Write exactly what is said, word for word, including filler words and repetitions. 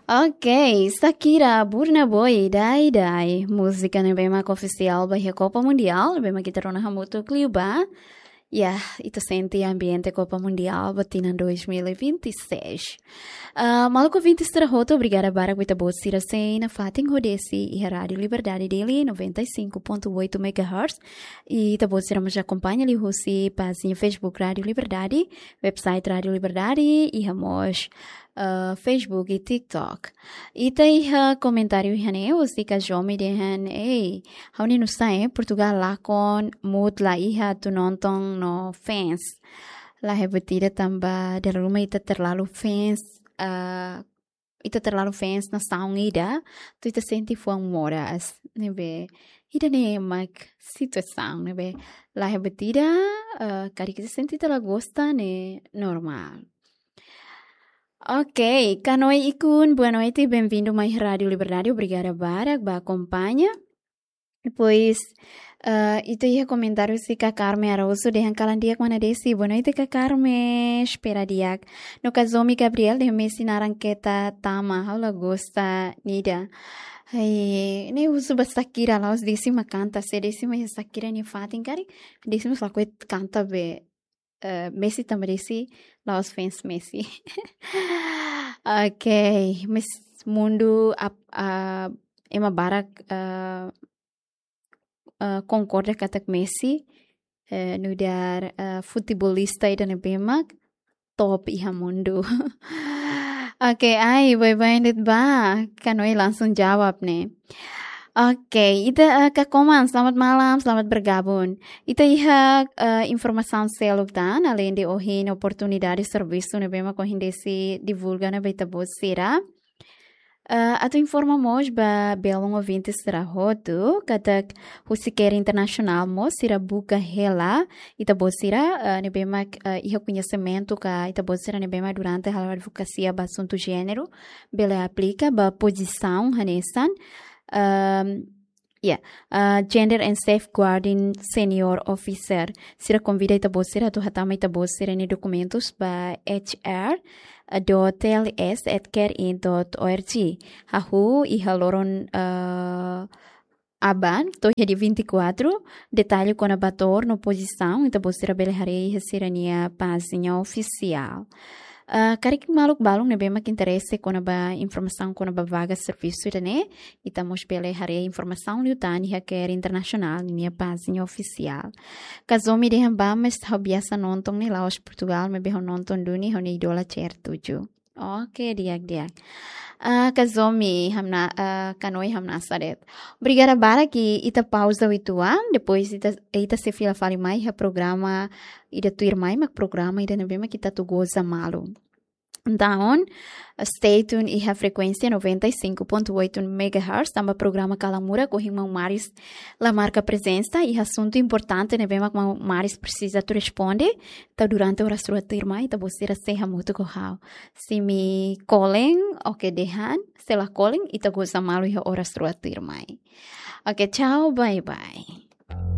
Ok, Shakira, Burna Boy, Dai Dai. Múzika ne'ebé mak ofisiál ba iha Copa Mundial, ne'ebé mak ita rona hamutuk liubá. Ya, ita sente ambiente Copa Mundial ba tinan dois mil e vinte e seis. Ah, maluk ouvinte sira hotu, obrigada barak ba ita-boot sira sei nafatin ho Desi iha Rádio Liberdade Dili, noventa e cinco ponto oito megahertz. I ita-boot sira mós akompaña liuhusi pájina Facebook Rádio Liberdade, website Rádio Liberdade, iha mós, ah, Facebook i TikTok. Ita iha komentáriu iha ne'e, husi Kazomi dehan, ei, ha'u-nia nu'usá, eh, Portugal lakon mood la iha atu nonton no fans. Laiha buat ida tanba dala ruma ita terlalu fans, ah, ita terlalu fans nasaun ida, atu ita sente fuan moras, ne'ebé ida-ne'e mak situasaun, ne'ebé laiha buat ida, ah, karik ita sente ita la gosta ne'e normál. Ok, Kanoi Ikun, boa noite, bem-vindo mai Rádio Liberdade, obrigada barak ba akompaña. Depois, ah, ita iha komentáriu husi Kak Carmen Araújo dehan kalan di'ak mana Desi. Boa noite, Kak Carmen. Espera di'ak. No Kazomi Gabriel dehan Messi naran keta tama. Ha'u la gosta nia ida. Ai, ne'e husu ba Shakira, la'ós Desi mak kanta. Se Desi mak iha Shakira nia fatin karik, Desi mós lakohi kanta be, eh, Messi tanba Desi la'ós fans Messi. Ok, mas mundu ap-, ah, ema barak, ah, ah, konkorda katak Messi, eh, nu'udar, ah, futebolista ida ne'ebé mak top iha mundu. Ok, ai, baibain de'it ba, Kanoi langsung jawab ne'e. Ok, ita, ah, Kak Koman, selamat malam, selamat bergabung. Ita iha, ah, informasaun seluk tan, alende ohin oportunidade servisu ne'ebé mak ohin Desi divulga ona ba ita-boot sira. Eh, atu informa mós ba belun ouvinte sira hotu, katak husi CARE Internasionál mós sira buka hela ita-boot sira, eh, ne'ebé mak, eh, iha koñesimentu ka ita-boot sira ne'ebé mak durante halo advokasia ba asuntu jéneru, bele aplika ba pozisaun hanesan, ehm, ya, ah, Gender and Safeguarding Senior Officer. Sira konvida ita-boot sira atu hatama ita-boot sira-nia dokumentus ba H R dot T L S at care in dot O R G. Hahú iha loron, ah, aban, to'o iha dia vinte e quatro, detalle kona-ba tour no pozisaun, ita-boot sira bele haree iha sira-nia pájina ofisiál. Ah, karik maluk balun ne'ebé mak interese kona-ba informasaun kona-ba vaga servisu ida-ne'e, ita mós bele haree informasaun liután iha CARE Internasionál nia pájina ofisiál. Kazomi dehan ba, mas ha'u biasa nonton ne'e la'ós Portugal, maibé ha'u nonton duni ha'u-nia idola C R tujuh. Ok, di'ak, di'ak. Ah, Kazomi, hamna-, ah, Kanoi hamnasa de'it. Obrigada barak, ita pauza uitoan, depois ita, ita sei fila fali mai iha programa ida tuirmai, mak programa ida ne'ebé mak ita atu goza malu. Entaun, stay tuned iha frekuénsia noventa e cinco ponto oito megahertz, tanba programa Kalan Murak, ohin maun Maris la marka prezensa, iha asuntu importante ne'ebé mak maun Maris presiza atu responde, entaun durante oras rua tuirmai, ita-boot sira sei hamutuk ho ha'u. Se imi kolen, ok dehan, se la kolen, ita goza malu iha oras rua tuirmai. Ok, tchau, bye bye.